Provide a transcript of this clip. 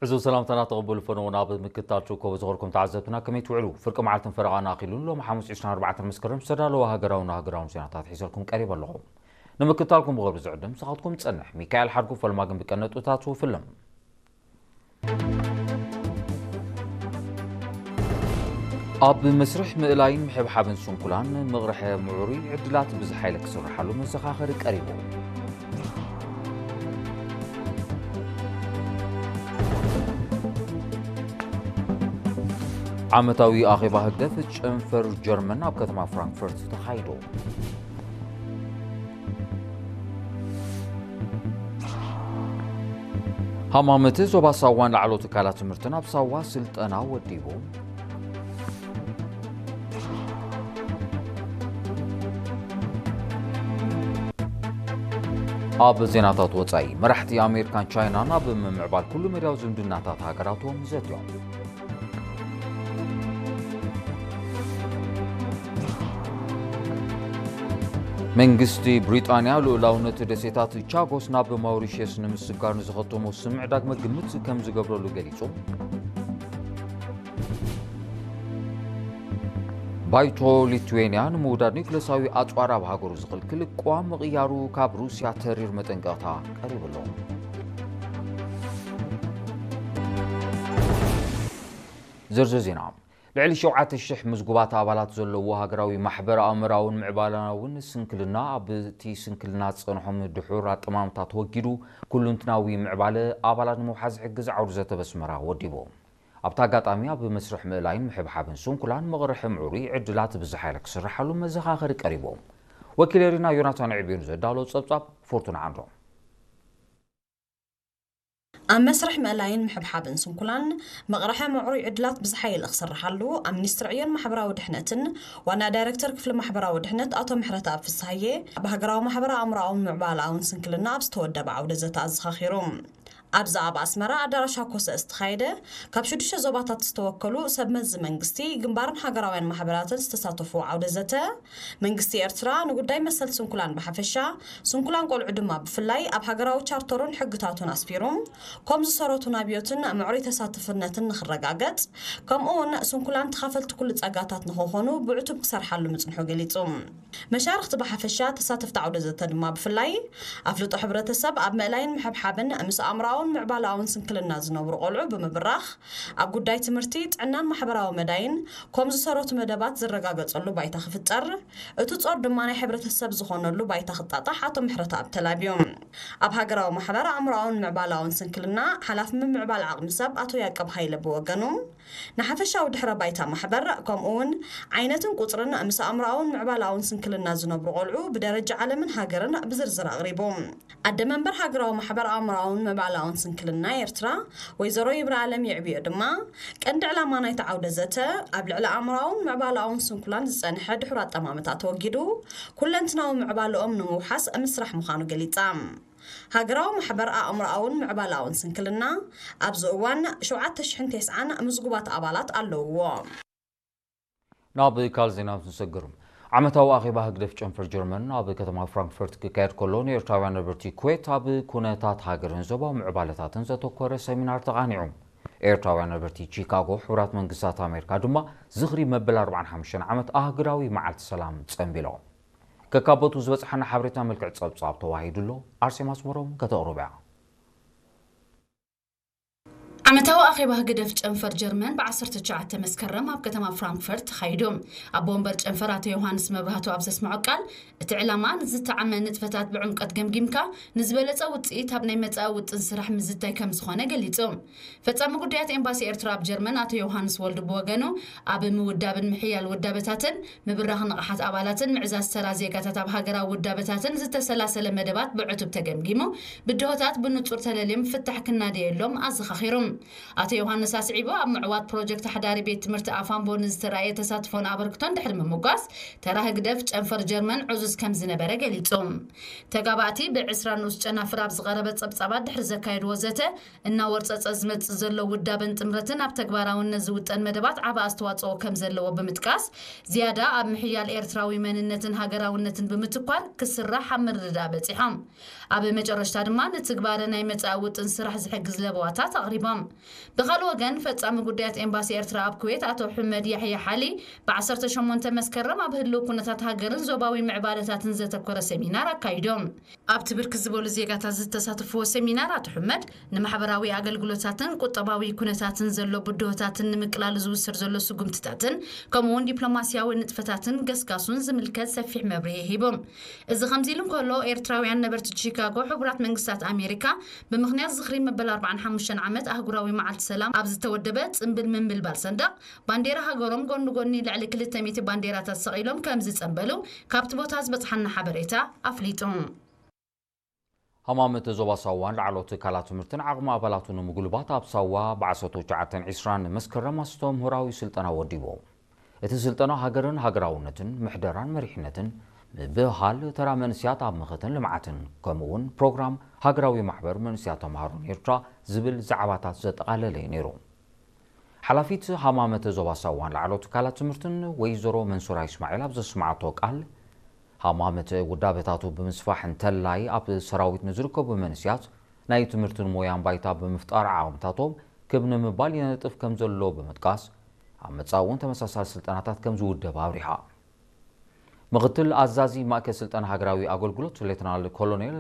ዕዙዝ ሰላምታና ተቐበሉ ፈነውና። ኣብ ምክትታል ትርከቡ ዝኸርኩም ተዓዘብትና ከመይ ትውዕሉ? ፍርቂ መዓልትን ፈረቓን ኣኺሉን ሎሚ ሓሙስ ዕስራን ኣርባዕተን መስከረም ዝተዳለወ ሃገራውን ሃገራውን ዜናታት ሒዘልኩም ቀሪበ ኣለኹ። ንምክትታልኩም ብኽብሪ ዝዕድም ንስኻትኩም ዝጸንሕ ሚካኤል ሓድጉ። ፈልማ ግን ብቀነጥብታቱ ፍልም። ኣብ መስርሕ ምእላይን ምሕብሓብን ስንኩላን መቕርሐ ምዕሩይ ዕድላት ብዝሓ ኢለ ክስርሓሉ መዘኻኸሪ ቀሪቡ። ዓመታዊ ኣኼባ ህግደፍ ጨንፈር ጀርመን ኣብ ከተማ ፍራንክፈርት ተኻይዱ። ሃማመት ዞባ ሳዋን ላዕሎ ትካላት ትምህርትን ኣብ ሳዋ ስልጠና ወዲቡ። ኣብ ዜናታት ወጻኢ፣ መራሕቲ ኣሜሪካን ቻይናን ኣብ ምምዕባል ኩሉ መዳያዊ ዝምድናታት ሃገራቶም ዘትዮም። መንግስቲ ብሪጣንያ ልኡላውነት ደሴታት ቻጎስ ናብ ማውሪሽየስ ንምስጋር ንዝኸተሞ ስምዕ ዳግመ ግምት ከም ዝገብረሉ ገሊጹ። ባይቶ ሊትዌንያ ንምውዳድ ኒውክለሳዊ ኣጽዋር ኣብ ሃገሩ ዝኽልክል ቅዋም ምቕያሩ ካብ ሩስያ ተሪር መጠንቀቕታ ቀሪቡ ኣሎ። ዝርዝር ዜና። ልዕሊ ሸውዓተ ሽሕ ምዝጉባት ኣባላት ዘለዎ ሃገራዊ ማሕበር ኣእምራውን ምዕባላውን ስንክልና ኣብቲ ስንክልና ዝጸንሖም ድሑር ኣጠማምታ ተወጊዱ ኩሉንትናዊ ምዕባለ ኣባላት ንምውሓዝ ዝሕግዝ ዓውዲ ዘተ በስመራ ወዲቡ። ኣብቲ ኣጋጣሚ ኣብ መስርሕ ምእላይን ምሕብሓብን ስንኩላን መቕርሒ ምዕሩይ ዕድላት ብዝሓ ኢለ ክስርሓሉ መዘኻኸሪ ቀሪቡ። ወኪል ኤሪና ዮናታን ዕብዩን ዘዳሎ ጸብጻብ ፎርቱና ዓንዶ። ኣብ መስርሕ ምእላይን ምሕብሓብን ስንኩላን መቕርሐ ምዕሩይ ዕድላት ብዝሓ ኢለ ክስርሓሉ ኣብ ሚኒስትሪ ዕዮን ማሕበራዊ ድሕነትን ዋና ዳይሬክተር ክፍሊ ማሕበራዊ ድሕነት ኣቶ ምሕረተኣብ ፍስሃየ፣ ኣብ ሃገራዊ ማሕበር ኣእምሮኣውን ምዕባለኣውን ስንክልና ኣብ ዝተወደበ ዓውደ ዘተ ኣዘኻኺሩ። ኣብዚ ኣብ ኣስመራ ኣዳራሽ ሃኮሰ ዝተኻየደ ካብ ሽዱሽተ ዞባታት ዝተወከሉ ሰብ መዚ መንግስቲ፣ ግንባርን ሃገራውያን ማሕበራትን ዝተሳተፉ ዓውደ ዘተ፣ መንግስቲ ኤርትራ ንጉዳይ መሰል ስንኩላን ብሓፈሻ፣ ስንኩላን ቆልዑ ድማ ብፍላይ ኣብ ሃገራዊ ቻርተሩን ሕግታቱን ኣስፊሩ፣ ኮም ዝሰረቱ ናብዮትን ምዕሩይ ተሳትፍነትን ንኽረጋገጽ፣ ከምኡ እውን ስንኩላን ተኻፈልቲ ኩሉ ጸጋታት ንኽኾኑ ብዕቱብ ክሰርሓሉ ምጽንሑ ገሊጹ። መሻርኽቲ ብሓፈሻ፣ ተሳተፍቲ ዓውደ ዘተ ድማ ብፍላይ፣ ኣፍልጦ ሕብረተሰብ ኣብ ምእላይን ምሕብሓብን ምስ ኣእምሮኣውን ምዕባለኣውን ስንክልና ዝነብሩ ቆልዑ ብምብራኽ፣ ኣብ ጉዳይ ትምህርቲ፣ ጥዕናን ማሕበራዊ መዳይን ኮም ዝሰረቱ መደባት ዝረጋገጸሉ ባይታ ክፍጠር፣ እቲ ጾር ድማ ናይ ሕብረተሰብ ዝኾነሉ ባይታ ክጣጣሕ ኣቶ ምሕረተኣብ ተላብዩ። ኣብ ሃገራዊ ማሕበር ኣእምሮኣውን ምዕባለኣውን ስንክልና ሓላፊ ምምዕባል ዓቕሚ ሰብ ኣቶ ያቀብ ሃይለ ብወገኑ፣ ንሓፈሻዊ ድሕረ ባይታ ማሕበር፣ ከምኡ እውን ዓይነትን ቁጽርን ምስ ኣእምሮኣውን ምዕባለኣውን ስንክልና ዝነብሩ ቆልዑ ብደረጃ ዓለምን ሃገርን ብዝርዝር ኣቕሪቡ። ኣደ መንበር ሃገራዊ ማሕበር ኣእምሮኣውን ምዕባለኣውን ስንክልና ኤርትራ፣ ወይዘሮ ይብረኣለም ይዕብዮ ድማ፣ ቀንዲ ዕላማ ናይቲ ዓውደ ዘተ፣ ኣብ ልዕሊ ኣእምሮኣውን ምዕባለኣውን ስንኩላን ዝጸንሐ ድሑር ኣጠማምታ ተወጊዱ፣ ኩለንትናዊ ምዕባለኦም ንምውሓስ ምስራሕ ምዃኑ ገሊጻ። ሃገራዊ ማሕበር ኣእምሮኣውን ምዕባለኣውን ስንክልና፣ ኣብዚ እዋን ሸውዓተ ሽሕን ተስዓን ምዝጉባት ኣባላት ኣለውዎ። ናብ ካልእ ዜና ንሰግር። ዓመታዊ ኣኼባ ህግደፍ ጨንፈር ጀርመን ኣብ ከተማ ፍራንክፈርት ክካየድ ከሎ፣ ንኤርትራውያን ነበርቲ ኩዌት ኣብ ኩነታት ሃገርን ዞባዊ ምዕባለታትን ዘተኮረ ሰሚናር ተቓኒዑ። ኤርትራውያን ነበርቲ ቺካጎ፣ ሕቡራት መንግስታት ኣሜሪካ ድማ ዝኽሪ መበል ኣርባዓን ሓሙሽተን ዓመት ኣህጉራዊ መዓልቲ ሰላም ጸንቢሎም። ከካበቱ ዝበጽሓና ሓበሬታ መልክዕ ጸብጻብ ተዋሂዱ ኣሎ። ኣርሴማ ኣስመሮም ከተቕርቦ እያ። ዓመታዊ ኣኼባ ህግደፍ ጨንፈር ጀርመን ብ ዓሰርተ ትሽዓተ መስከረም ኣብ ከተማ ፍራንክፈርት ተኻይዱ። ኣቦ ወንበር ጨንፈር ኣቶ ዮሃንስ መብራህቱ ኣብ ዘስምዖ ቃል፣ እቲ ዕላማ ንዝተዓመ ንጥፈታት ብዕምቀት ገምጊምካ ንዝበለጸ ውጽኢት ኣብ ናይ መጻኢ ውጥን ስራሕ ምዝታይ ከም ዝኾነ ገሊጹ። ፈጻሚ ጉዳያት ኤምባሲ ኤርትራ ኣብ ጀርመን ኣቶ ዮሃንስ ወልዱ ብወገኑ፣ ኣብ ምውዳብን ምሕያል ውዳበታትን ምብራኽ ንቕሓት ኣባላትን ምዕዛዝ ተራ ዜጋታት ኣብ ሃገራዊ ውዳበታትን ዝተሰላሰለ መደባት ብዕቱብ ተገምጊሙ፣ ብድሆታት ብንጹር ተለልዮም ፍታሕ ክናደየሎም ኣዘኻኺሩ። ኣቶ ዮሃንስ ኣስዒቡ፣ ኣብ ምዕዋት ፕሮጀክት ሓዳሪ ቤት ትምህርቲ ኣፋምቦ ንዝተራእየ ተሳትፎን ኣበርክቶን ድሕሪ ምምጓስ፣ ተራ ህግደፍ ጨንፈር ጀርመን ዕዙዝ ከም ዝነበረ ገሊጹ። ተጋባእቲ ብዕስራ ንኡስ ጨናፍር ኣብ ዝቐረበ ጸብጻባት ድሕሪ ዘካየድዎ ዘተ፣ እናወርጸጸ ዝመጽእ ዘሎ ውዳበን ጥምረትን ኣብ ተግባራውነት ዝውጠን መደባት ዓቢ ኣስተዋጽኦ ከም ዘለዎ ብምጥቃስ፣ ዝያዳ ኣብ ምሕያል ኤርትራዊ መንነትን ሃገራውነትን ብምትኳር ክስራሕ ኣብ ምርድዳእ በጺሖም። ኣብ መጨረሽታ ድማ ንትግባረ ናይ መጻኢ ውጥን ስራሕ ዝሕግዝ ለበዋታት ኣቕሪቦም። ብኻልእ ወገን፣ ፈጻሚ ጉዳያት ኤምባሲ ኤርትራ ኣብ ኩዌት ኣቶ ሕመድ ያሕያ ሓሊ፣ ብ18 መስከረም ኣብ ህልው ኩነታት ሃገርን ዞባዊ ምዕባለታትን ዘተኮረ ሰሚናር ኣካይዶም። ኣብቲ ብርክት ዝበሉ ዜጋታት ዝተሳተፍዎ ሰሚናር ኣቶ ሕመድ፣ ንማሕበራዊ ኣገልግሎታትን ቁጠባዊ ኩነታትን ዘሎ ብድሆታትን ንምቅላሉ ዝውሰድ ዘሎ ስጉምትታትን፣ ከምኡ እውን ዲፕሎማስያዊ ንጥፈታትን ገስጋሱን ዝምልከት ሰፊሕ መብርሂ ሂቦም። እዚ ከምዚ ኢሉ እንከሎ፣ ኤርትራውያን ነበርቲ ቺካጎ፣ ሕቡራት መንግስታት ኣሜሪካ፣ ብምኽንያት ዝኽሪ መበል 45 ዓመት ኣህጉራዊ መዓልቲ ሰላም ኣብ ዝተወደበ ጽምብል ምንብልባል ሰንደቕ፣ ባንዴራ ሃገሮም ጎኒ ጎኒ ልዕሊ 200 ባንዴራታት ሰቒሎም ከም ዝጸንበሉ ካብቲ ቦታ ዝበጽሓና ሓበሬታ ኣፍሊጡ። ሃማመተ ዞባ ሳዋን ላዕለዎት ትካላት ትምህርትን ዓቕሚ ኣባላቱ ንምጉልባት ኣብ ሳዋ ብ19 20 መስከረም ኣስተምህሮኣዊ ስልጠና ወዲቡ። እቲ ስልጠና ሃገርን ሃገራውነትን፣ ምሕደራን መሪሕነትን፣ ምብህሃል ተራ መንእስያት ኣብ ምኽትን ልምዓትን፣ ከምኡ እውን ፕሮግራም ሃገራዊ ማሕበር መንእስያት ተምሃሮን ኤርትራ ዝብል ዛዕባታት ዘጠቓለለ እዩ ነይሩ። ሓላፊት ሃማመተ ዞባ ሳዋን ላዕለዎት ትካላት ትምህርትን ወይዘሮ መንሱራ ይስማዒል ኣብ ዘስማዓቶ ቃል፣ ሃማመተ ውዳበታቱ ብምስፋሕ እንተላይ ኣብ ሰራዊት ንዝርከቡ መንእስያት ናይ ትምህርትን ሞያን ባይታ ብምፍጣር ዓቕምታቶም ክብ ንምባል ይነጥፍ ከም ዘሎ ብምጥቃስ፣ ኣብ መጻኢ እውን ተመሳሳሊ ስልጠናታት ከም ዝውደብ ኣብሪሃ። ምኽትል ኣዛዚ ማእከል ስልጠና ሃገራዊ ኣገልግሎት ሌተናል ኮሎኔል